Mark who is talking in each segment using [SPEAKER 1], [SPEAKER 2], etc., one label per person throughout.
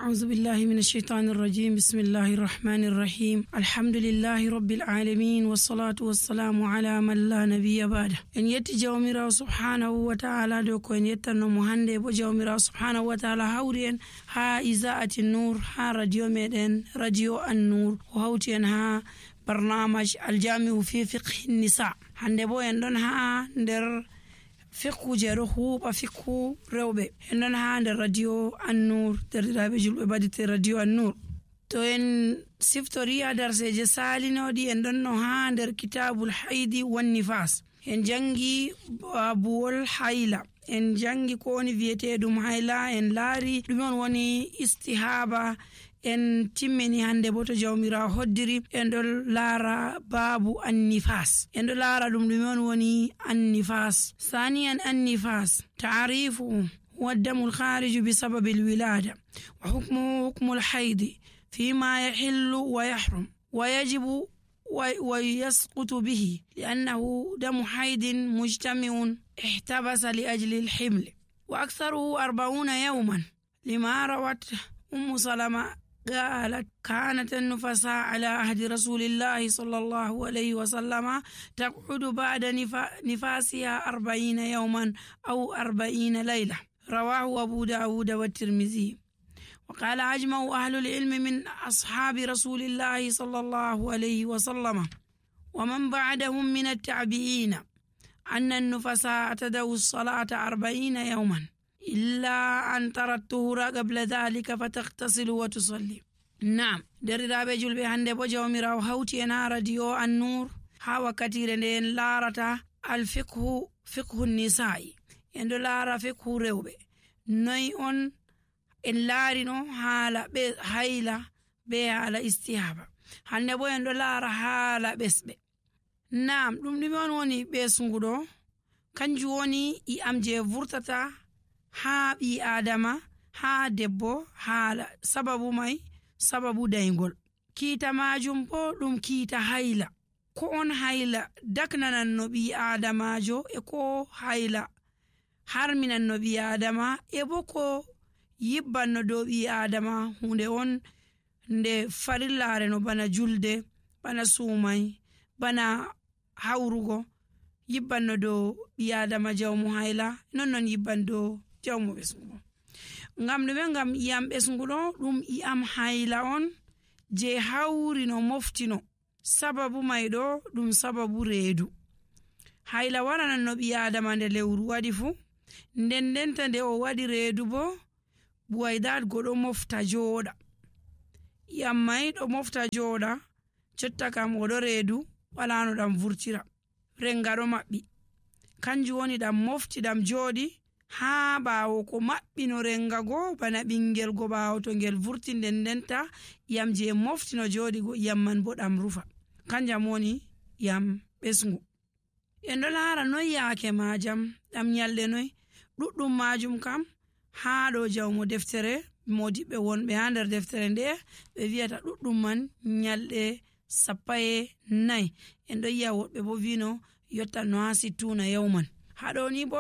[SPEAKER 1] أعوذ بالله من الشيطان الرجيم. بسم الله الرحمن الرحيم. الحمد لله رب العالمين والصلاة والسلام على من لا نبي بعده. إن يتي جوميرا سبحانه وتعالى دوكو إن يتنو مهندي بو جوميرا سبحانه وتعالى هورين ها إذاعة النور ها راديو ميدن راديو النور وهوتين ها برنامج الجامع في فقه النساء. هندي بو يندون ها ندر fiqhu jero huuɓa fiqhu rewɓe en ɗon ha nder radio annur derɗiraɓe julɓe badite radio annur. To en siftori ha darseje salinoɗi en ɗon no ha nder kitabul haidi wan nifas en jangi babuwol hayla, en jangi ko woni wiyeteɗum hayla, en laari ɗume on woni istihaba, en timmini hande bo to jawmirawo hoddiri en ɗon laara babu annifas, en ɗon laara ɗum ɗume on woni annifas. Saniyan annifas ta'rifu huwa ad-damu al-khariju bi sababi al-wilada wa hukmuhu hukmu al-hayd fima yahillu wa yahrum wa yajibu wa yasqutu bihi li'annahu damu haydin mujtami'un ihtabasa li ajli al-himl wa aktharuhu 40 yawman lima rawat salama قالت كانت النفساء على عهد رسول الله صلى الله عليه وسلم تقعد بعد نفاسها 40 يوما أو 40 ليلة. رواه أبو داود والترمذي. وقال أجمع أهل العلم من أصحاب رسول الله صلى الله عليه وسلم ومن بعدهم من التابعين أن النفساء تدعو الصلاة 40 يوما إلا أن ترى الطهور قبل ذلك فتغتسل وتصلي. نعم درiraɓe julɓe hande bo jawmirawo hawti en ha radio annur ha wakkatire nde en laarata fiqhu nisa'i, en ɗo laara fiqhu rewɓe. noy on en laarino haala ɓe hayla be haala istihaba. hande bo en ɗo laara haala ɓesɓe. Naam ɗum ɗume on woni ɓesnguɗo? kanjum woni i'am je vurtata ha ɓi adama ha debbo haala sababu mai sababu daygol. kiita majum bo ɗum kiita hayla. ko on hayla daknanan no ɓi adamajo e ko hayla harminan no ɓi adama e bo ko yibban no dow ɓi adama hunde on nde farillare no bana julde, bana sumai, bana hawrugo yibban no dow ɓi adama jawmu hayla non yibban dow jawmu ɓesnguɗo. ngam ɗume? ngam iyam ɓesnguɗo ɗum iyam hayla on je hawri no moftino. sababu mai ɗo ɗum sababu reedu. hayla waranan no ɓi adama nde lewru waɗi fu, ndendenta nde o waɗi reedu bo buwaydat goɗo mofta jooɗa. iyam mai ɗo mofta jooɗa, jotta kam oɗo reedu wala no ɗam vurtira, renga ɗo maɓɓi, kanjum woni ɗam mofti ɗam jooɗi ha ɓaawo ko maɓɓino renga go bana ɓingel go ɓaawo to ngel vurti ndendenta iyam je moftino jooɗi go iyam man bo ɗam rufa, kanjam woni iyam ɓesngu. en ɗo laara noy yaake majam ɗam nyalɗe noy. ɗuɗɗum majum kam ha ɗo jawmo deftere modiɓɓe wonɓe ha nder deftere nde ɓe wiyata ɗuɗɗum man nyalɗe 14. en ɗo yi'a woɓɓe bo vino yotta no ha 60 yawman. haɗo ni bo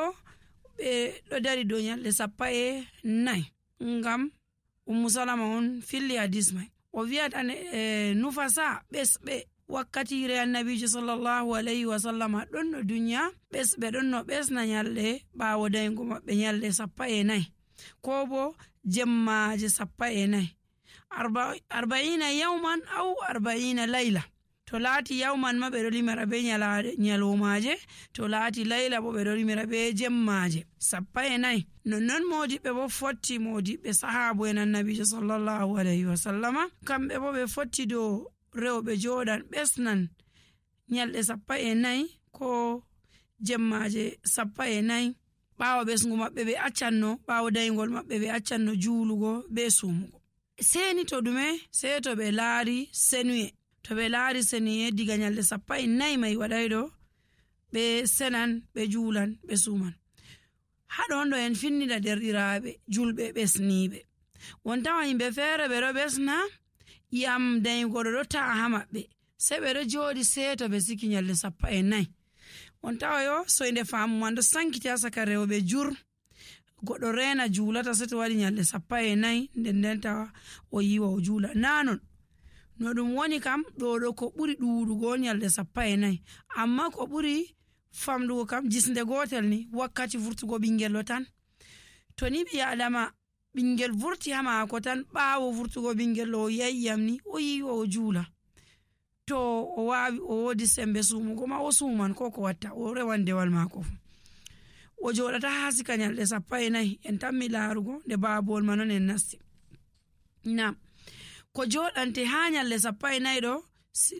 [SPEAKER 1] ɓe ɗo dari dow nyalɗe 14 ngam salama on filli hadis mai. o wiyata nufasa ɓesɓe wakkatire annabijo sallallahu alayhi wa sallam ɗon no duniya ɓesɓe ɗon no ɓesna nyalɗe ɓaawo daygo maɓɓe nyalɗe 14 ko bo jemmaje 14 40 yawman aw 40 layla. to laati yawman ma ɓe ɗo limira be nyalomaje, to laati layla bo ɓe ɗo limira be jemmaje 14. nonnon modiɓɓe bo fotti modiɓɓe sahabu en annabijo sallallahu alayhi wa sallama kamɓe bo ɓe fotti dow rewɓe joɗan ɓesnan nyalɗe 14 ko jemmaje 14 ɓaawo ɓesngu maɓɓe ɓe accanno ɓaawo daygol maɓɓe ɓe accanno juulugo be sumugo. seni to ɗume? sei to ɓe laari senuye. to ɓe laari senuye diga nyalɗe 14 mai waɗay ɗo ɓe senan ɓe juulan ɓe suman. haɗon ɗo en finnida derɗiraɓe julɓe ɓesniɓe. won tawa yimɓe feere ɓe ɗo ɓesna iyam daygol ɗo ta'a ha maɓɓe sei ɓe ɗo jooɗi seeto ɓe siki nyalɗe 14. on tawa yo soyde faamu man ɗo sankiti ha saka rewɓe jur goɗɗo rena juulata seto waɗi nyalɗe 14 nden tawa o yiwa o juula nanon no ɗum woni kam ɗo ko ɓuri ɗuɗugo nyalɗe 14 amma ko ɓuri famɗugo kam jisnde gotel ni wakkati vurtugo ɓingel tan to ni ɓi adama ɓingel vurti ha maako tan ɓaawo vurtugo ɓingel o yayyam ni o yiwa o juula to o wawi o wodi sembe sumugo ma o suman ko watta o rewan dewal maako o joɗata ha sika nyalɗe 14 en tammi laarugo nde baabol ma non en nasti nam ko joɗante ha nyalɗe 14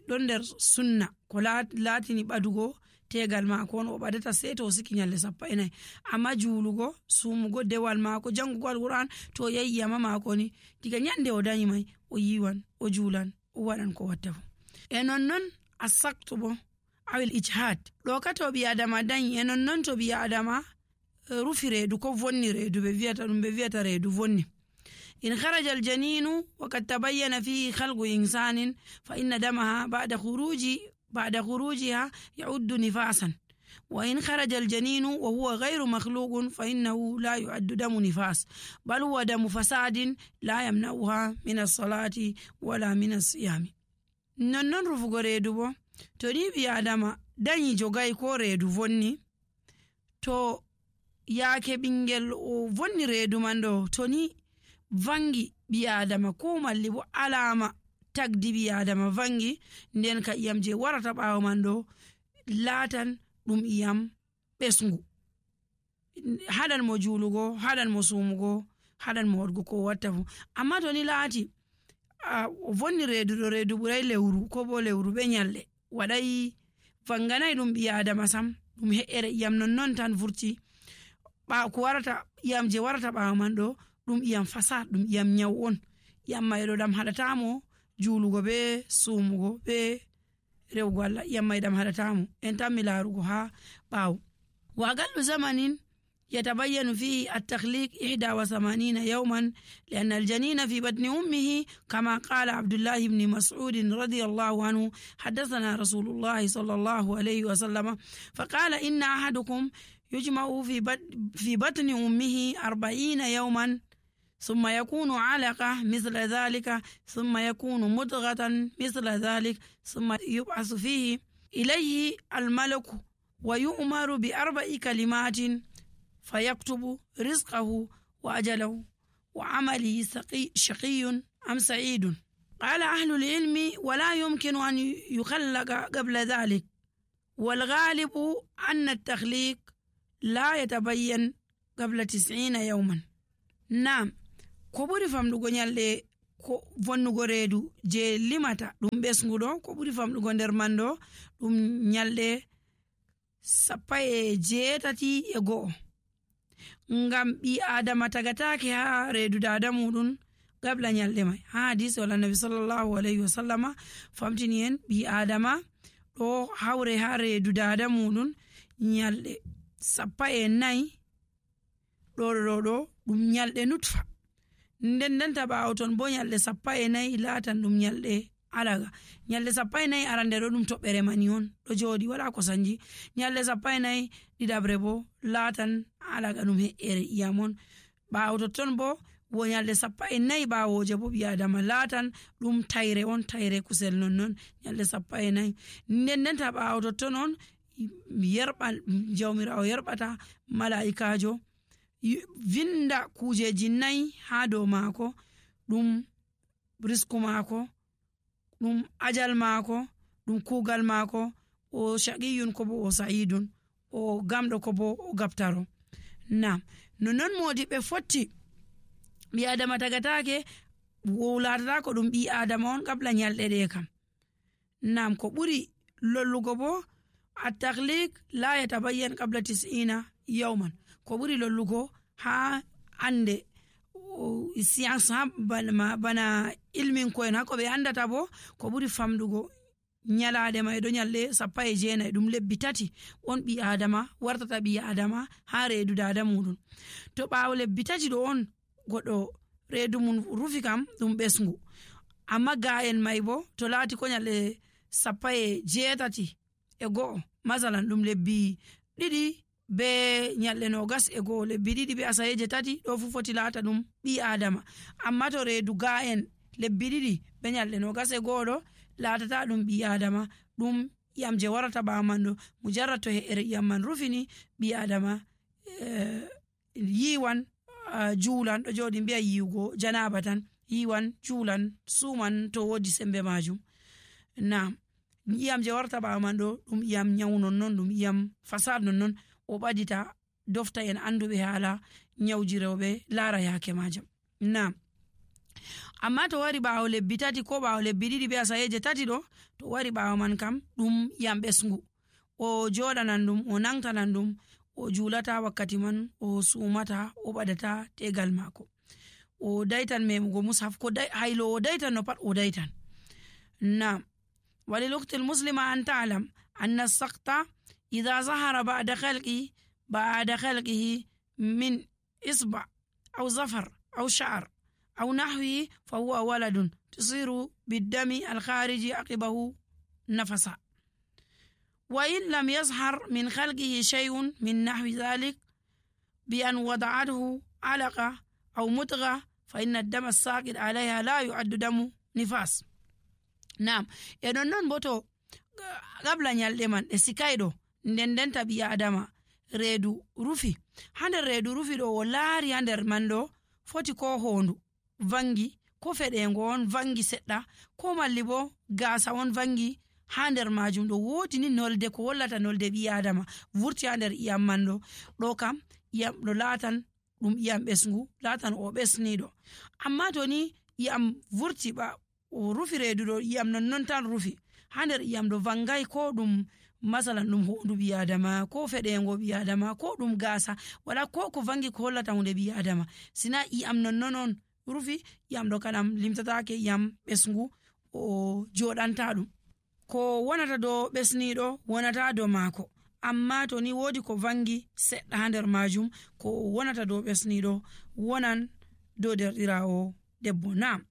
[SPEAKER 1] ɗon nder sunna ko laatini ɓadugo tegal maako on o ɓadata sei to o siki nyalɗe 14 amma juulugo sumugo dewal maako jangugo alquran to yayyama maako ni diga nyande o dañi mai o yiwan o juulan o waɗan ko watta fu e nonnon asaktu bo awil ijhad ɗo ka to ɓi adama dañi e nonnon to ɓi adama rufi reedu ko vonni reedu ɓe viyata reedu vonni in kharaja aljaninu wa kad tabayyana fihi khalqu insanin fa inna damaha ba'da khurujiha ya'uddu nifasan wa in kharaja aljaninu wa huwa ghayru makhluqun fa innahu la yu'addu damu nifas bal huwa damu fasadin la yamna'uha min as-salati wala min as-siyami nonnon rufugo reedu bo to ni ɓi adama dañi jogay ko reedu vonni to yaake ɓingel o vonni reedu man ɗo to ni vangi ɓi adama ko malli bo alama tagdi ɓi adama vangi nden ka iyam je warata ɓawo man ɗo laatan ɗum iyam ɓesngu haɗan mo juulugo haɗan mo sumugo haɗan mo waɗgo ko watta fu amma to ni laati o vonni reedu ɗo reedu ɓuray lewru ko bo lewru ɓe nyalɗe waɗay vanganay ɗum ɓi adama sam ɗum he'ere iyam non tan vurti ko warata iyam je warata ɓawo man ɗo ɗum iyam fasad ɗum iyam nyaw on iyam may ɗo ɗam haɗatamo juulugo be sumugo be rewgo Allah iyam may ɗam haɗatamo en tammi laarugo ha ɓawo wa aqallu zamanin يتبين فيه التخليق 81 يوما لأن الجنين في بطن أمه كما قال عبد الله بن مسعود رضي الله عنه حدثنا رسول الله صلى الله عليه وسلم فقال إن أحدكم يجمع في بطن أمه 40 يوما ثم يكون علقة مثل ذلك ثم يكون مضغة مثل ذلك ثم يبعث فيه إليه الملك ويؤمر ب4 كلمات فيكتب رزقه وأجله وعمله شقي أم سعيد. قال أهل العلم ولا يمكن أن يخلق قبل ذلك والغالب أن التخليق لا يتبين قبل 90 يوما. نعم ko ɓuri famɗugo nyalɗe ko vonnugo reedu je limata ɗum ɓesnguɗo ko ɓuri famɗugo nder man ɗo ɗum nyalɗe 18 ngam ɓi adama tagatake ha reedu dada muɗum gabla nyalɗe mai ha hadisi wala nabi sallallahu alaihi wasallama famtini en ɓi adama ɗo hawre ha reedu dada muɗum nyalɗe 14 ɗo ɗum nyalɗe nutfa nden ta ɓawo ton bo nyalɗe 14 laatan ɗum nyalɗe alaga nyalɗe 14 arande ɗo ɗum toɓɓere mani on ɗo jooɗi wala ko sanji nyalɗe 14 ɗiɗabre bo laatan alaga ɗum he'ere iyam on ɓawo totton bo wo nyalɗe 14 ɓawoje bo ɓi adama laatan ɗum tayre on tayre kusel nonnon nyalɗe 14 nden ta ɓawo totton on jawmirawo yerɓata malaikajo vinda kujeji 4 ha dow maako ɗum risku maako ɗum ajal maako ɗum kugal maako o shaqiyun ko bo o sa'idun o gamɗo ko bo o gaftaro. Nam non modiɓe fotti ɓi adama tagatake wowlatata ko ɗum ɓi adama on qabla nyalɗe ɗe kam. Nam ko ɓuri lollugo bo at-takhliq la yatabayyan qabla 90 yawman ko ɓuri lollugo ha ande science ha bana ilmin koen hako ɓe andata bo ko ɓuri famɗugo nyalaɗe may ɗo nyalɗe 19 ɗum lebbi 3 on ɓi adama wartata ɓi adama ha reedu dada muɗum to ɓawo lebbi 3 ɗo on goɗɗo reedu mum rufi kam ɗum ɓesngu amma ga'en may bo to laati ko nyalɗe 18 masalan ɗum lebbi 2 be nyalɗe 21 lebbi 2 be asayeje 3 ɗo fu foti laata ɗum ɓi adama. amma to reedu ga'en lebbi 2 be nyalɗe 21 ɗo laatata ɗum ɓi adama, ɗum iyam je warata ɓawo man ɗo mujarrad to he'ere iyam man rufini ɓi adama yiwan juulan, ɗo joɗi mbiya yiwugo janaba tan, yiwan juulan suman to wodi sembe majum. Naam, iyam je warta ɓawo man ɗo ɗum iyam nyawu nonnon, ɗum iyam fasad nonnon, o ɓadita dofta en anduɓe haala nyawji rewɓe laara yake majam. Naam, amma to wari ɓawo lebbi 3 ko ɓawo lebbi 2 be asayeje 3 ɗo, to wari ɓawo man kam ɗum iyam ɓesngu, o joɗanan ɗum, o nangtanan ɗum, o julata wakkati man, o sumata, o ɓadata tegal mako, o daitan memugo mushaf, ko haylo o daitan no pat o daitan. Naam, وللأخت المسلمة أن تعلم أن السقط إذا ظهر بعد خلقه من إصبع أو ظفر أو شعر أو نحوه فهو ولد تصير بالدم الخارج عقبه نفسا. وإن لم يظهر من خلقه شيء من نحو ذلك بأن وضعته علقة أو مضغة فإن الدم الساقط عليها لا يعد دم نفاس. Naam, e non boto gabla nyalde man e sikaydo ndendenta bi adama reedu rufi, hander reedu rufi do o laari hander man do foti ko hondu vangi, ko fedengo on vangi sedda, ko malli bo gaasa on vangi hander majum do wodi ni nolde ko wallata nolde bi adama vurti hander iyam man do kam iyam do latan dum iyam besngu, latan o besnido. amma to ni iyam vurti ba o rufi reedu ɗo iyam non tan rufi hander iyam ɗo vangai, ko ɗum masalan ɗum hondu ɓi adama, ko feɗengo ɓi adama, ko ɗum gasa, wala ko vangi ko hollata hunde ɓi adama, sina iyam non rufi, iyam ɗo kanam limtatake iyam ɓesngu, o joɗanta ɗum. ko wonata do ɓesniɗo wonata do mako, amma to ni wodi ko vangi seɗɗa ha nder majum, ko wonata do ɓesniɗo wonan do derɗirawo debbo. Naam,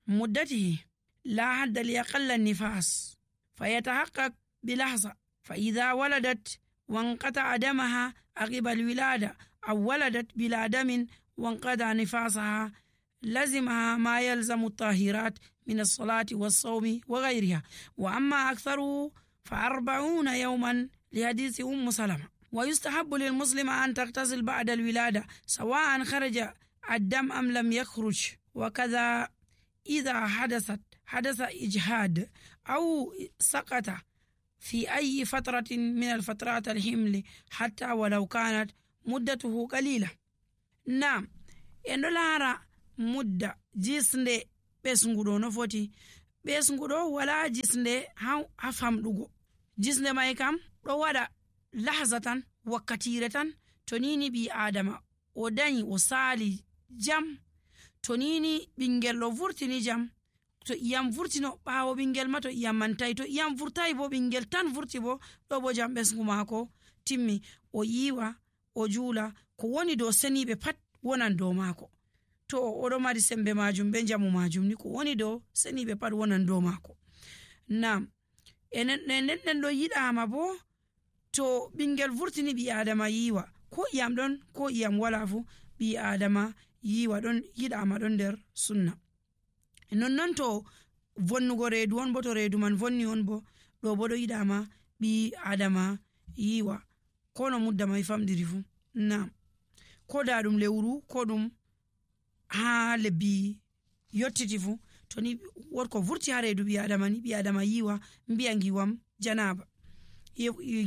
[SPEAKER 1] muddatihi لا حد لأقل النفاس فيتحقق بلحظة، فإذا ولدت وانقطع دمها عقب الولادة أو ولدت بلا دم وانقطع نفاسها لزمها ما يلزم الطاهرات من الصلاة والصوم وغيرها، وأما أكثره ف40 يوما لحديث سلمة. ويستحب للمسلم أن تغتسل بعد الولادة سواء خرج الدم أم لم يخرج، وكذا إذا حدث إجهاد أو سقط في أي فترة من الفترات الحمل حتى ولو كانت مدته قليلة. نعم، إنه لارا مدة جسند بسنغدو نفوتي بسنغدو ولا جسند هفهم دوغو جسند ما يكام ولا لحظة وكتيرة تنيني بي آدم وداني وصالي جم tonini ɓingel ɗo vurtini jam, to iyam vurtino ɓawo ɓingel ma to iyam mantai, to iyam vurtai bo ɓingel tan vurti bo ɗo bo jam ɓesgu mako timmi, o yiwa o juula, ko woni dow seniɓe pat wonan dow mako. to oɗo mari sembe majum be jamu majum ni, ko woni dow seniɓe pat wonan dow mako. Naam, enen ɗo yiɗama bo to ɓingel vurtini ɓi adama yiwa, ko iyam ɗon ko iyam wala fu ɓi adama yiwa ɗon yiɗama ɗon nder sunna. Non to vonnugo reedu on bo, to reedu man vonni on bo ɗo bo ɗo yiɗama ɓi adama yiwa ko no mudda mai famɗiri fu. Naam, ko da ɗum lewru ko ɗum ha lebbi yottiti fu, to ni wotko vurti ha reedu ɓi adama ni, ɓi adama yiwa mbiya ngiwam janaba,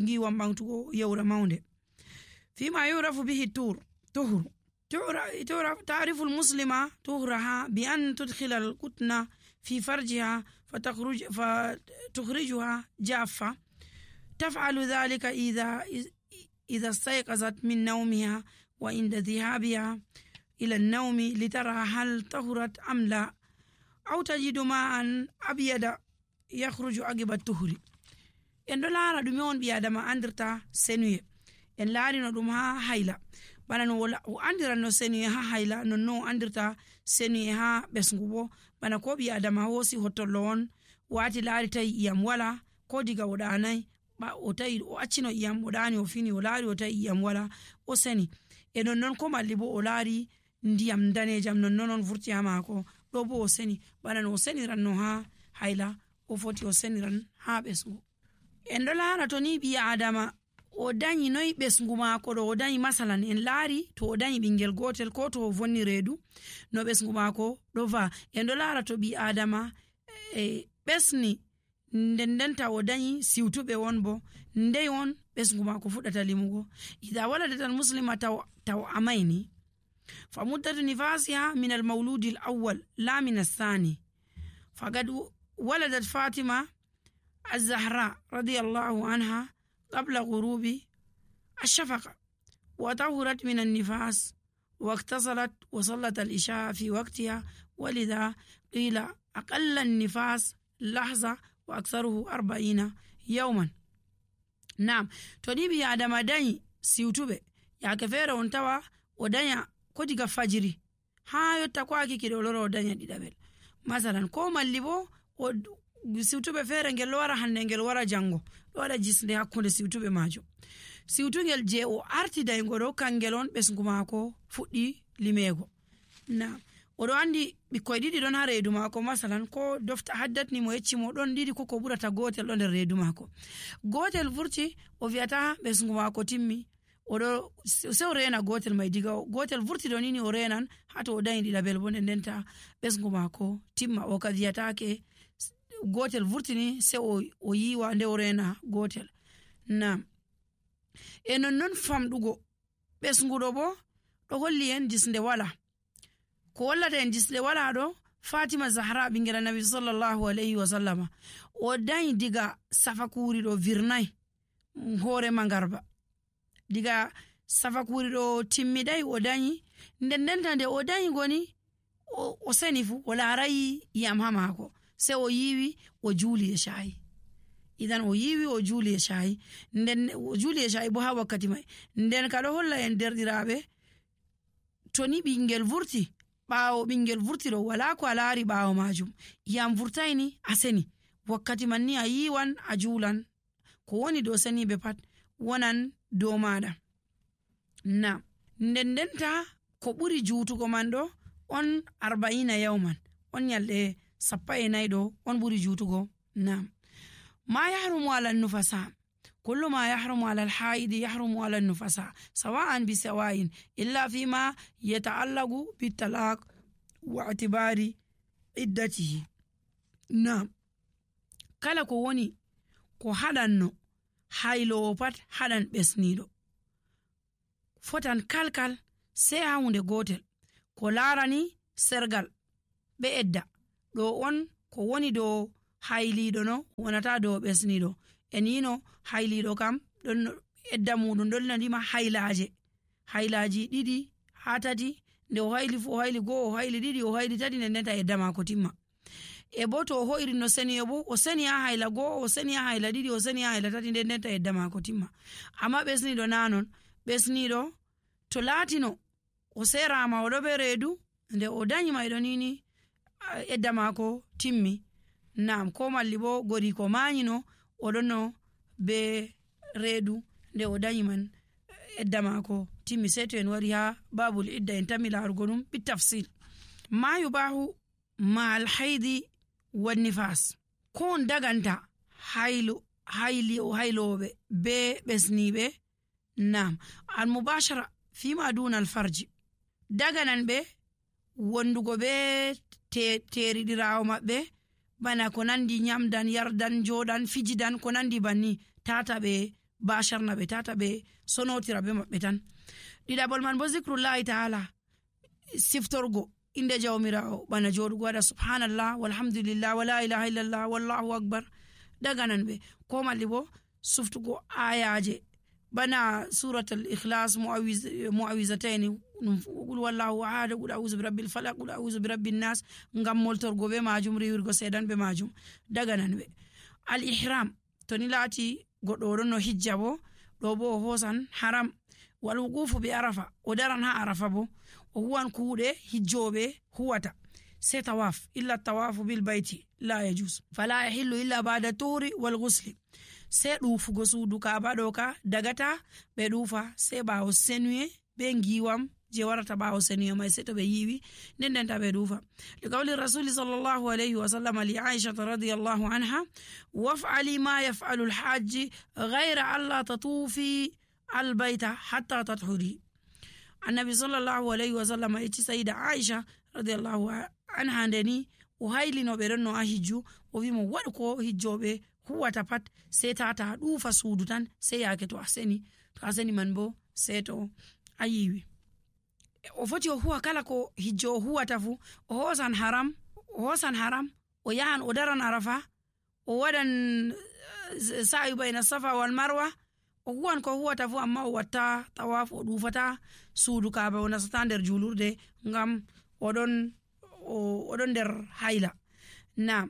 [SPEAKER 1] ngiwam ɓamtugo yewra maunde. fima yurafu bihi tuhuru تعرف المسلمة طهرها بأن تدخل القطن في فرجها فتخرجها جافة. تفعل ذلك إذا استيقظت من نومها وعند ذهابها إلى النوم لترى هل طهرت أم لا، أو تجد ماء أبيض يخرج عقب الطهر. en ɗo laara ɗume on ɓi adama andirta senuye, en laarino ɗum ha hayla, bana no o andiran no senuye ha hayla, nonno o andirta senuye ha ɓesngu bo, bana ko ɓi adama hosi hottollo on wati laari tawi iyam wala, ko diga o ɗanai o tawi o accino iyam o ɗani o fini o laari o tawi iyam wala o seni e nonnon ko malli bo o laari ndiyam danejam nonnon on vurti ha maako ɗo bo o seni bana no o seniran no ha hayla o foti o seniran ha ɓesgu. En ɗo laara to ni ɓi adama o dañi noyi ɓesgu maako ɗo o dañi masalan en laari to o dañi ɓingel gotel ko to o vonni reedu no ɓesgu maako ɗo va en ɗo laara to ɓi adama ɓesni ndendenta o dañi siwtuɓe won bo ndey on ɓesgu maako fuɗɗata limugo. ida waladat al muslima taw amayni fa muddatu nifasiha min al mawludi al awwal la min athani faqad waladat fatima الزهراء رضي الله عنها قبل غروب الشفق وطهرت من النفاس واغتسلت وصلت العشاء في وقتها ولذا قيل أقل النفاس لحظة وأكثره 40 يوما. نعم تنبي آدم داني سيوتوبي يا كفير ونتوى ودانيا كوديغا فجري ها يتقواكي كده لورو ودانيا دي دابل مثلا كوما اللي بو siwtuɓe feere ngel wara hande ngel wara jango ɗo waɗa jisnde hakkunde siwtuɓe majum siwtugel je o artidaygo ɗo kangel on ɓesgu maako fuɗɗi limego. na oɗo andi ɓikkoy ɗiɗi ɗon ha reedu maako masalan ko dofta haddatni mo yeccimo ɗon ɗiɗi ko ɓurata gotel ɗo nder reedu maako gotel vurti o wiyata ɓesgu maako timmi oɗo se o rena gotel mai diga gotel vurti ɗo nini o renan hato o dañi ɗiɗabel bo ndenta ɓesgu maako timma o ka wiyatake gotel vurtini se o yiwa nde o rena gotel. na e nonnon famɗugo ɓesguɗo bo ɗo holli en jisnde wala ko wallata en jisnde wala ɗo fatima zahra ɓingel annabi sallallahu alayhi wa sallama o dañi diga safakuri ɗo virnay hoore mangarba diga safakuri ɗo timmiɗay o dañi ndendenta nde o dañi goni o seni fu o laarayi iyam ha maako se o yiwi o juuli e shayi idan o yiwi o juuli e shayi nden o juuli e shayi bo ha wakkati mai nden ka ɗo holla en derɗiraɓe to ni ɓingel vurti ɓaawo ɓingel vurti ɗo wala ko a laari ɓaawo majum iyam vurtayni a seni wakkati man ni a yiwan a juulan ko woni dow seniɓe pat wonan dow maɗa. na ndendenta ko ɓuri juutugo man ɗo on 40 yawman on nyalɗe 14 ɗo on ɓuri juutugo. na ma yahrumu ala nufasa kullu ma yahrumu ala alhaidi yahrumu ala nufasa sawa'an bi sawa'in illa fima yata'allaqu bitalaq wa i'tibari iddatihi. na kala ko woni ko haɗanno haylowo pat haɗan ɓesniɗo fotan kalkal sai ha hunde gotel ko larani sergal ɓe edda ɗo on ko woni dow hayliɗo no wonata dow ɓesniɗo en yino hayliɗo kam ɗon edda muɗum ɗon nadima haylaji ɗiɗi ha tati nde o hayli fu o hayli go'o o hayli ɗiɗi o hayli tati ndenta edda mako timma e bo to o hoyri no seni e bo o seni ha hayla go'o o seni ha hayla ɗiɗi o seni ha hayla tati ndenta edda mako timma. amma ɓesniɗo nanon ɓesniɗo to laatino o serama oɗo ɓe reedu nde o dañi mayɗo nini edda mako timmi. nam ko malli bo gori ko mañino oɗonno be reedu nde o dañi man edda mako timmi sei to en wari ha babul idda en tammi larugo ɗum bitafsil. ma yubahu ma alhaidi wannifas ko on daganta hayloɓe be ɓesniɓe. nam almubashara fima duna alfarji daganan ɓe wondugo be teriɗirawo maɓɓe bana ko nandi nyamdan yardan jodan fijidan ko nandi banni tata ɓe basharna ɓe tata ɓe sonotira be maɓɓe tan. ɗiɗaɓol man bo zikrullahi ta'ala siftorgo inde jawmirawo bana joɗugo waɗa subhanallah walhamdulillah wala ilaha illallah wallahu akbar daganan ɓe ko malli bo suftugo ayaje bana suratul ikhlas muawizataini qul wallahu ahad qul a'udhu birabbil falaq qul a'udhu birabbin nas ngam moltorgo be majum riwirgo sedan be majum daganan ɓe. al ihram to ni laati goɗɗo ɗon no hijja bo ɗo bo o hosan haram wal wuqufu bi arafa o daran ha arafa bo o huwan kuuɗe hijjoɓe huwata sai tawaf illa tawafu bil bayti la yajuz fala yahillu illa ba'da tuhri wal ghusli sei ɗuufugo suudu kaaba ɗo ka dagata ɓe ɗuufa sei ɓaawo senuye be ngiwam je warata ɓaawo senuye mai sei to ɓe yiiwi ndendenta ɓe ɗuufa liqawli rasuli sallallahu alayhi wa sallam li aisha radiyallahu anha waf'ali ma yaf'alu alhajji ghayra alla tatufi albayta hatta tathuri. Annabi sallallahu alayhi wa sallam eci sayida aisha radiyallahu anha ndeni o haylinoɓe ɗon no a hijju o wimo waɗu ko hijjoɓe huwata pat sei tata ɗuufa suudu tan sei yaake to a seni man bo sei to a yiiwi. O foti o huwa kala ko hijjo o huwata fu o hosan haram o yahan o daran arafa o waɗan sa'i bayna safa wal marwa o huwan ko huwata fu amma o watta tawaf o ɗufata suudu kaaba o nasata nder julurde ngam oɗon nder hayla. Na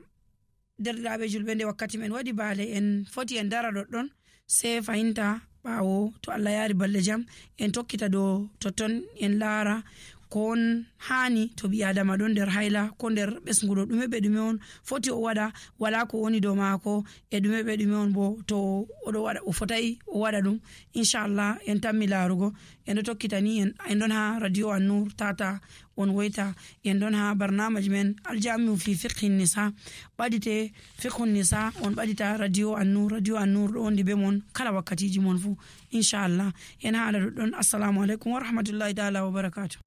[SPEAKER 1] derɗiraɓe julɓe nde wakkati men waɗi baale en foti en dara ɗoɗɗon sei fahinta ɓaawo to Allah yaari balɗe jam en tokkita dow totton en laara kon hani to ɓi adama ɗon nder hayla ko nder ɓesguɗo ɗume ɓe ɗume on foti o waɗa wala ko woni dow maako e ɗume ɓe ɗume on bo to oɗo waɗa o fotai o waɗa ɗum inchallah en tammi laarugo en ɗo tokkita ni en ɗon ha radio An-Nur tata on woyta en ɗon ha barnamaji men aljamiu fi fiqhi nisa ɓaɗite fiqhu nisa on ɓaɗita radio An-Nur ɗo wondi be mon kala wakkatiji mon fu inchallah en haala ɗoɗɗon. Assalamu alaikum wa rahmatullahi ta'ala wa barakatuh.